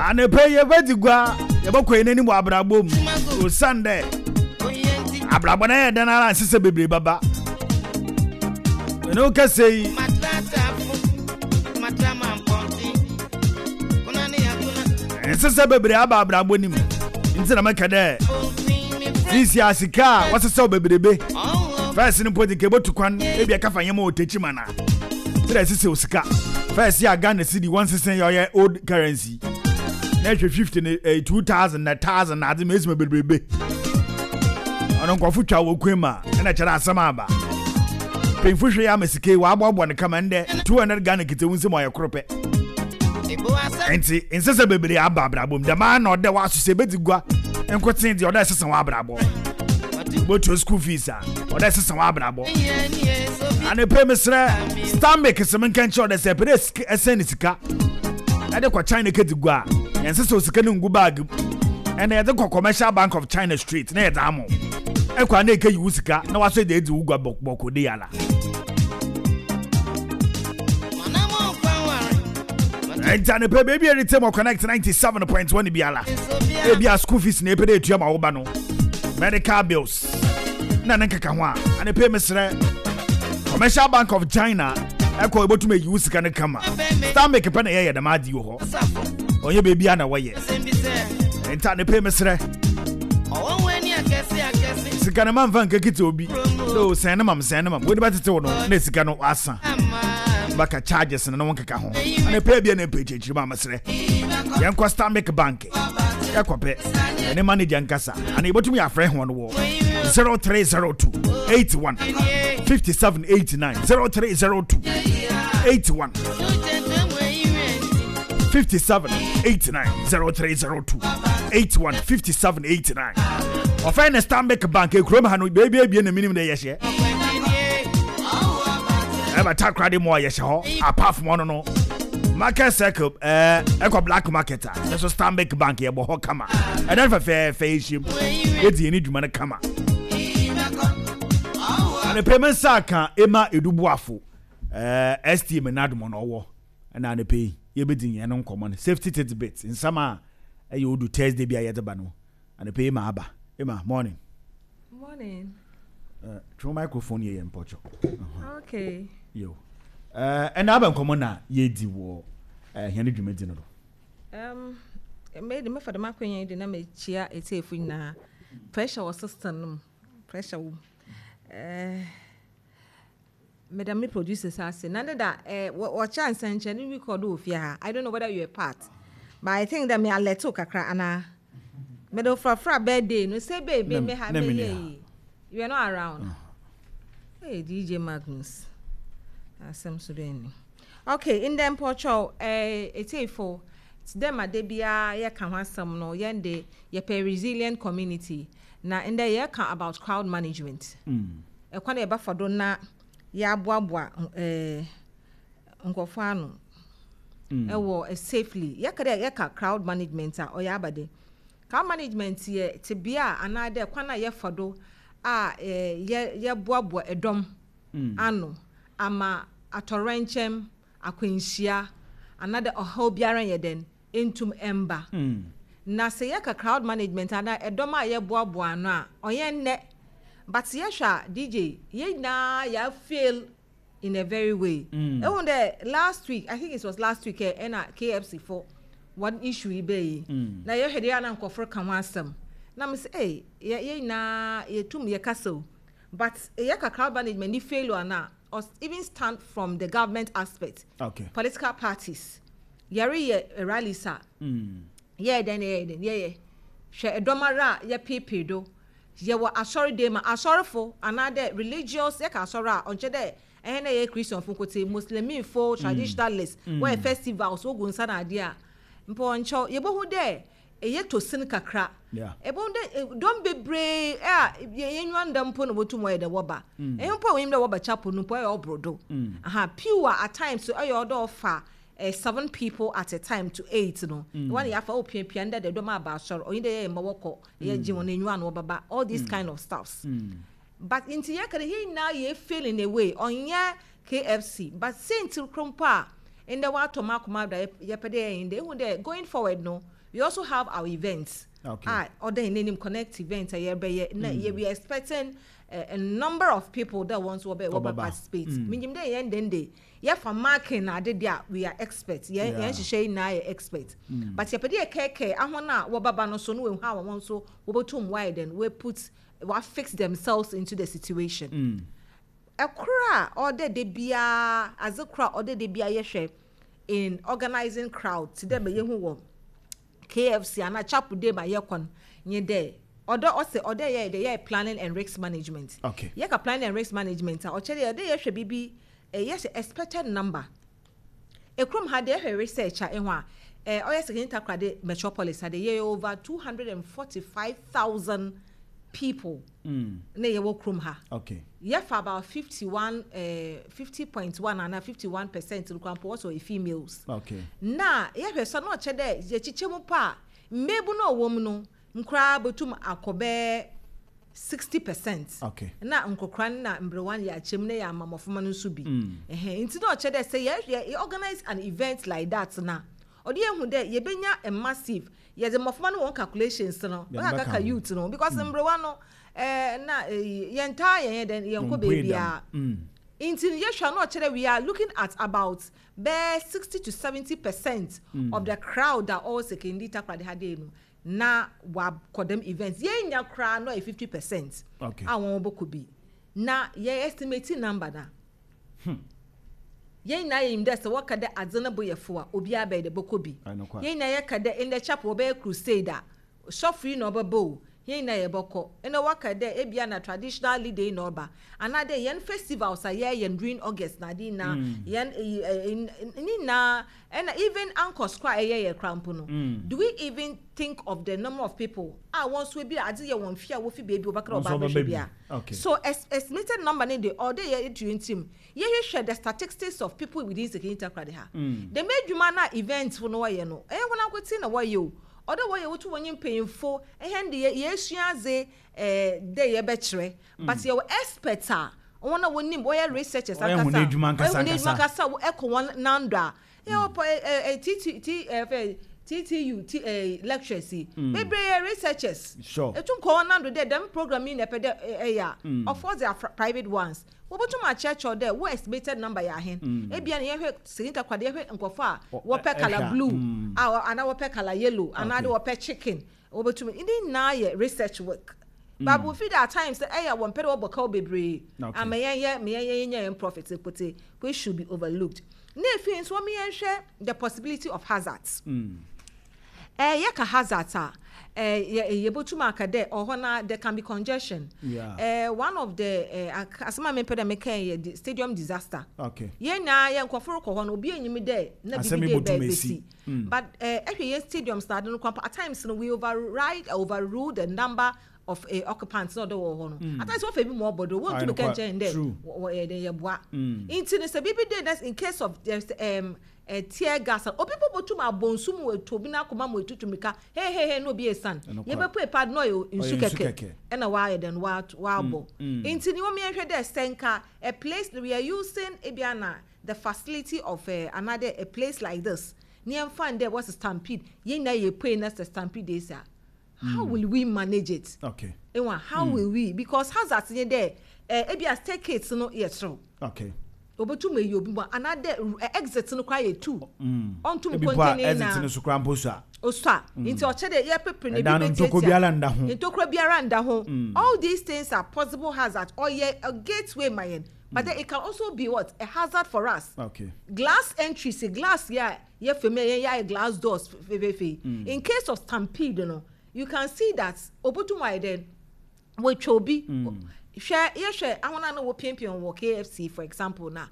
Anɔpa yi yɛbɛdzi gua, yɛbɔkɔ hɛn enyim wɔ abrabɔ mu osiandɛ abrabɔ no ayɛ dɛn ara a nsesa bebree bɛba. Mene wo kasa yi. Nsesa bebree aba abrabɔ no mu nti na meka dɛ sisi a sika a wɔsesɛw bebrebe. First no mpo dze nka ebotu kwan ebi ɛka fa nneɛma wɔ Techiman a. Sɛ ɛsesɛw sika. First yɛ a Ghana cedi wɔnsesa yɛ ɔyɛ old currency. Na ɛhwɛ 50 ne eh, 2000 na 1000 na adze ma esi ma bebrebe. Ɔno nkorɔfo twa wɔ kwan mu a ɛna kyerɛ asɛm aba. Mpanyinfo hwɛ yɛ ama sika yi wɔaboaboa no kama ndɛ 200 Ghana kitsewu nsam ɔyɛ koro pɛ. Nti nsesa bebree aba abrabɔ mu. Dɛm ara na ɔdɛ w'aso sɛ ebedzi gua nkotsee deɛ ɔdɛ ɛsesa w'abrabɔ. Botua school fees a ɔdɛ ɛsesa w'abrabɔ. Anɔpa mesrɛ Stanbic sɛ menka nkyerɛ ɔdɛ sɛ ɛpɛ dɛ ɛsɛn ne sika ɛde kɔ China kɛdzi gua a yɛnsesa osika no ngu bag mu ɛna yɛde kɔ Commercial Bank of China straight na yɛdze ama ɛkɔ a na ɛkɛyi wo sika na wasɔ de edzi wo gua bɔkɔ de yala. Nti anɔpa baabi a ɛrete mɔ Connect 97.1 biara ebi a school fees na ɛpɛ dɛ etua ma wo ba no medical bills na ne nkeka ho a anɔpa mesrɛ Commercial Bank of China ɛkɔ ebotumi eyi wo sika no kama Stanbic pɛ na yɛyɛ dɛm ade wɔ hɔ ɔnyɛ baabi a na wɔyɛ nti anɔpa mesrɛ sika no mamfa nkekete obi no sɛn no mam sɛn no mam wode bɛtete wo no na sika no asa baka charges no na wo nkeka ho anɔpa bia na ɛpɛ akyirikyiri ma mesrɛ yɛnkɔ Stanbic Bank yɛkɔpɛ ɛne manager nkasa ana yɛbɛtumi yɛafrɛ ho no wɔ 0302 81 57 89 0302 81 57 89 0302 81 57 89 ɔfɛn ne Stanbic Bank ekurom ha no beebi ebien na minim dɛ yɛhyɛ ɛbɛ takoradi mu a yɛhyɛ hɔ apart from ɔno no market circle ɛɛ ɛkɔ black market a ɛso Stanbic Bank yɛbɔ hɔ kama ɛdɛn fɛfɛɛfɛ yɛhyia mu yɛdi yɛn dwuma no kama anepɛ me nsa aka ema edubuafo ɛɛ STM n'adomɔ na ɔwɔ ɛna anepɛ yi yɛbɛdi yɛn no nkɔmɔ no safety tidbit nsɛm a ɛyɛ odu Thursday bi a yɛde ba no anepɛ yi ma aba ema morning. Morning. Twɛn microphone yɛ yɛn mpɔkyɔ. Okay. Yo. Ɛna aba nkɔmɔ na yɛdi wɔ hɛn dwumadzi no do. Me de mefa dɛm akwanya yi de na mekyia etiefo nyinaa. Pressure wɔ system no mu. Pressure wɔ mu. Meda me producers ase. Na ne da wɔkyɛ nsɛnkyerɛnne bi kɔ do wɔ fie ha. I don't know whether you were part. But I think that me alert wo kakra anaa. Mede wo frafra birthday no sɛ baby me ha me yɛ yi. You were not around. Hey DJ Magnus. Asɛm so bɛn ni. Okay, ndɛ mpɔkyɛw eh, etiefo, tse dɛ ma da biara yɛka ho asɛm no, yɛn de yɛpɛ resilient community. Na ndɛ yɛreka about crowd management. Ɛkwan a yɛbɛfa do na yɛaboaboa eh, nkorɔfo ano ɛwɔ safely. Yɛka dɛ yɛka crowd management a, ɔyɛ aba dɛn? Crowd management yɛ tsebea a anaadɛ kwan a yɛfa do a eh, yɛ yɛboaboa dɔm ano ama atɔwrɛnkyɛm, akwanhyia, anaadɛ ɔhaw biara nnyɛ dɛn nntum mmba. Na sɛ yɛka crowd management anaa dɔm a yɛboaboa ano a, ɔnnyɛ ndɛ. But yɛhwɛ a, DJ, hɛn nyinaa yɛafail in a very way. Ehu dɛ last week, I think it was last week ɛ, ɛna KFC fo wɔn issue yi bɛɛ yi. Na yɛhwɛ deɛ na nkorɔfo reka ho asɛm. Na mese, ei, yɛ yɛn nyinaa yɛtum yɛkasa o. But yɛka crowd management ne failure no a, even stand from the government aspect. Okay. Political parties. Yɛreyɛ rallies a, yɛyɛ dɛn na yɛyɛ dɛn? Yɛyɛ. Hwɛ ɛdɔm ara a yɛpeepee do. Yɛwɔ asɔredan mu a, asɔrefo anaadɛ religious, yɛka asɔr a, ɔnnkyerɛ dɛ hɛn a yɛyɛ Christianfo nkotsee, Muslimifo, traditionalists, wɔyɛ festivals, wogu nsa na adeɛ a, mpo ɔnnkyɛw, yebohu dɛ yɛtɔ sin kakra. Ebohu dɛ dɔm beberee a hɛn enyiwa nnda mpo na wotum wɔyɛ dɛ wɔba. Hɛn mpo a wonyim dɛ wɔba chapel no mpo ɔyɛ ɔbor do. Aha, pew a at times ɔyɛ ɔwɔ dɛ ɔfa seven people at a time to eight no, hɔn na yɛafa, oh piapia ndɛ dɛ dɔm aba asɔr, onnyi dɛ yɛyɛ mba wɔkɔ, yɛgye hɔn enyiwa na wɔbɛba, all these kind of stuffs. But ntsi yɛka dɛ hɛn nyinaa yɛ fail in a way, ɔnnyɛ KFC, but siantsir kor mpo a. Ndɛ wɔatɔ m'akoma do a yɛpɛ dɛ yɛyɛ ndɛ. Ehu dɛ going forward no, we also have our events a ɔda hɛn enyim, connect event a yɛrebɛyɛ na we are expecting a number of people dɛ hɔn so wɔbɛ wɔbɛ participate. Minyim dɛ hɛn dɛn de yɛfa marking na ade de a, we are expert. Yɛn hɛn nhyehyɛɛ nyinaa yɛ expert. But yɛpɛ dɛ yɛkɛɛkɛɛ ahɔn a wɔbɛba no so na woehu how hɔn so wobotum wɔayɛ dɛn woeput wɔafix themselves into the situation. Kor a ɔwɔ dɛ da biara, adze kor a ɔwɔ dɛ da biara yɛhwɛ in organising crowd tse dɛ ma yehu wɔ KFC anaa Chapel dei ma yɛkɔ no nye dɛ, ɔdɔ ɔsɛ ɔwɔ dɛ yɛyɛ dɛ yɛyɛ planning and risk management. Yɛka planning and risk management a, ɔkyerɛ dɛ ɔwɔ dɛ yɛhwɛ biribi, yɛhwɛ expected number. Ekurom ha de ehwɛ research a ehu a, ɔyɛ Sekondi Takoradi metropolis ha de yɛyɛ over 245,000 people na yɛwɔ kurom ha. Yɛfa about 51, 50.1 anaa 51% no koraa mpo wɔsɛ ɔyɛ females. Na yɛhwɛ so a na ɔkyerɛ dɛ yɛkyekyɛ mu paa a, mbeebu no a ɔwɔ mu no nkoraa botum akɔ bɛyɛ 60% na nkɔkora no na mberewa no yɛakyɛ mu na yɛama mboframba no so bi. Ɛhɛn, ntsi na ɔkyerɛ dɛ sɛ yɛ organise an event like that no a, ɔde yehu dɛ yebenya a massive, yɛdze mboframba no hɔn calculations no ɔakaka youth no because mberewa no na yɛnntaa yɛnyɛ dɛn, yɛnnkɔ beebiara. Ntsi no yɛhwɛ a na ɔkyerɛ dɛ we are looking at about bɛyɛ 60 to 70% of the crowd a ɔwɔ Sekondi Takoradi ha dei no na wɔakɔ dɛm event. Yenya koraa na ɔyɛ 50% a hɔn bɔkɔ bi. Na yɛ estimate number no a, hɛn nyina yenyim dɛ sɛ wɔka dɛ adze no bo yɛ fow a, obiara bɛyɛ dɛ bɔkɔ bi. Hɛn nyina yɛka dɛ ndɛ chapel wɔbɛyɛ crusade a, sɔfo yi na ɔbɛba o, hɛn nyina yɛbɔkɔ. Ndɛ wɔka dɛ ebia na traditional leader yi na ɔba, anaadɛ hɛn festivals a yɛyɛ no during August na adze nyina, hɛn eyi ne nyina. Ɛna even anchors koraa a ɛyɛ yɛ koraa mpo no, do we even think of the number of people a wɔn nso ebi a adze yɛ wɔn fie a wofi beebi wɔbɛka dɛ wɔba abɛhwɛ bi a? So estimated number no de ɔwɔ dɛ yɛto yɛn tirim yɛhwehwɛ the statistics of people within Sekondi Takoradi ha. Dɛm edwuma no a event fo no wɔyɛ no, ɛyɛ hɔn ankotsee na wɔyɛ o, ɔwɔ dɛ wɔyɛ wotu wɔnye mpanyimfo, hɛn de yɛsua adze dɛ yɛbɛkyerɛ but yɛwɔ experts a wɔn a wɔnim wɔyɛ researchers ankasa wɔyɛ wɔn adwuma ankasa ɛkɔ wɔn nan do a yɛwɔ pɔ ɛ ɛ T T ɛ fɛ TTU T ɛ lecturers yi bebree yɛ researchers etum kɔ wɔn nan do dɛ dɛm program yi na ɛpɛ dɛ ɛyɛ a of course there are private ones wɔbɛtum akyerɛkyerɛw dɛ wo estimated number yɛ ahen ebia na yɛhwɛ sini takoradi yɛhwɛ nkorɔfo a wɔpɛ colour blue a anaa wɔpɛ colour yellow anaa de wɔpɛ chicken Wɔbɛtumi, ne nyinaa yɛ research work. But we feel that at times ɛyɛ wɔn pɛ dɛ wɔbɔ kaw bebree ama yɛn yɛ ma yɛn yɛn nya yɛn profit nkote which should be overlooked. Na efi nso wɔn yɛn hwɛ the possibility of hazards. Ɛɛ yɛka hazards a ɛɛ yɛ yɛbɛtum aka dɛ ɔhɔ na there can be congestion. Yeah. Ɛɛ one of the ɛɛ asɛm a mepɛ dɛ meka yɛ stadium disaster. Okay. Yɛn nyinaa yɛ nkurɔfo rekɔ hɔ no obi enyim dɛ na Asɛm biribi yi dɛ botum bɛsi. esi. But eh, ehwɛ yɛn stadiums na ade no koraa mpo, at times no we override, overrule the number of eh, occupants na ɔde wɔ hɔ no. At times wɔfa bi ma ɔbɔ do, wɔntumi Aye, ka nokwar. nkyɛn dɛ True. wɔyɛ dɛ yɛboa. Nti no sɛ biribi de na in case of there's eh, tear gas a, obi mpo botum abɔ nsu mu etu obi n'akoma mu etutu mirika, hey hey hey na obi esian. Nokwar. Yɛbɛpue paa de na ɔyɛ nsu Ɔyɛ nsu kɛkɛ kɛkɛ. ɛna wɔayɛ dɛn wɔabɔ. Nti no wɔn yɛnhwɛ dɛ sɛ nka a place we are using ebia na the facility of eh, anaadɛ a place like this na yɛmfa no dɛ wɔse stampede, yɛn nyinaa yɛpue na sɛ stampede esi a, how will we manage it? Okay. Ewa, how will we? Because hazards nye dɛ, eh, ebia staircase no yɛ serew. Okay. Obotum eyi obi mu anaadɛ eh, exit no koraa yɛ two. Ɔnntum Ebi po a contain ne exit nyinaa. no so koraa mpo sua. Osua. Nti ɔkyerɛ dɛ yɛpepere no ebi Ɛdan no ntokuro betiatia. biara nda ho. Ntokuro biara nda ho. All these things are possible hazards. Ɔyɛ a gateway ma yɛn. But then it can also be what? A hazard for us. Okay. Glass entry, say glass yeah, yeah, for me, yeah, glass doors, fe, fe, fe. In case of stampede, you can see that obotum why then we obi. Hwɛ yɛhwɛ ahona na wɔpiapia wɔ KFC for example na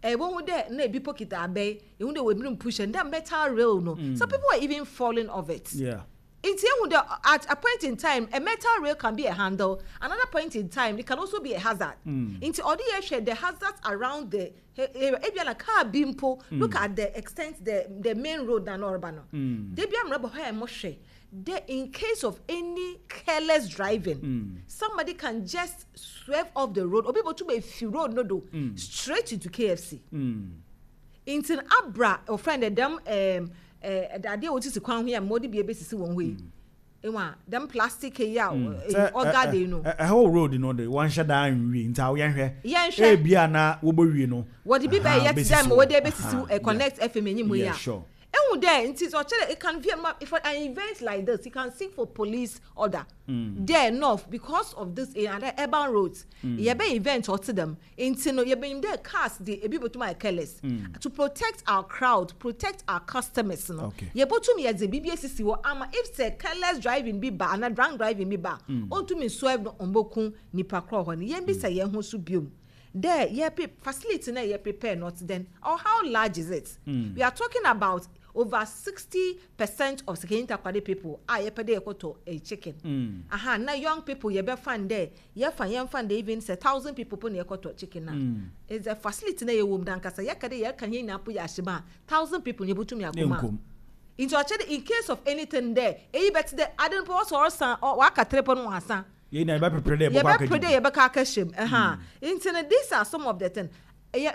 wohu dɛ na ebi po kita abɛn, ehu dɛ wɔebinom push and that metal rail no. Some people were even falling off it. Nti ehu dɛ at a point in time a metal rail can be a handle, another point in time it can also be a hazard. Nti ɔde yɛhwɛ the hazards around the area. Ebia na car bi mpo, look at the extent the main road na na ɔreba no. De bi amuna bɔ hɔ a mo hwɛ dɛ in case of any careless driving, somebody can just swerve off the road. Obi botum efi road no do straight into KFC. Nti no abra wɔfrɛ no dɛ dɛm ɛɛm ɛɛ adeɛ a wɔsisi kwan ho yi a ma wɔde bi ebesisi wɔn hɔ yi. Ehu a dɛm plastic yi a ɔga de no. Ɛhɔ road no de wɔnhyɛ daa nwie nti awo yɛnhwɛ. Yɛnhwɛ. Ebia na wɔbɛwie no. Wɔde bi bɛyɛ te dɛ ma wɔde ebesisi Connect FM enyim hɔ yi a. Yeah, sure. Ehu dɛ nti sɛ ɔkyerɛ it can be for an event like this you can seek for police order. Dɛ north because of this eh, and urban roads. Yɛbɛ event ɔte dɛm. Nti no yɛbɛnyim dɛ cars de ebi botum ayɛ careless. To protect our crowd, protect our customers no. Okay. Yɛbotum yɛdze biribi esisi hɔ ama if sɛ careless driving bi ba anaa drunk driving bi ba a, onntum nswerve no ommboku nyimpa kor wɔ hɔ no. Yɛmbisa hɛn ho so bio dɛ yɛpe facility no a yɛ prepare no ɔtse dɛn or how large is it? We are talking about over 60% of Sekenyi Takoradi people a yɛpɛ dɛ yɛkɔtɔ eh, chicken. Aha, na young people yɛbɛfa no dɛ yɛfa yɛmfa no dɛ even sɛ 1,000 people po na yɛkɔtɔ chicken a, is the facility na yɛwɔ mu no ankasa yɛka dɛ yɛka hɛn nyinaa po yɛ ahyɛ mu a, 1,000 people yebotum yɛakɔ mu a. Yɛnnkɔ mu. Nti ɔkyerɛ dɛ in case of anything dɛ eyi bɛtse dɛ ade no po ɔsɛ ɔresan ɔ ɔaka tere po no ɔasan. Yɛn nyinaa yɛbɛpepere dɛ yɛbɛkɔ Yɛbɛpere dɛ akɛgye yɛbɛkɔ akɛhyɛ mu. Ɛha. Nti no these are some of the things.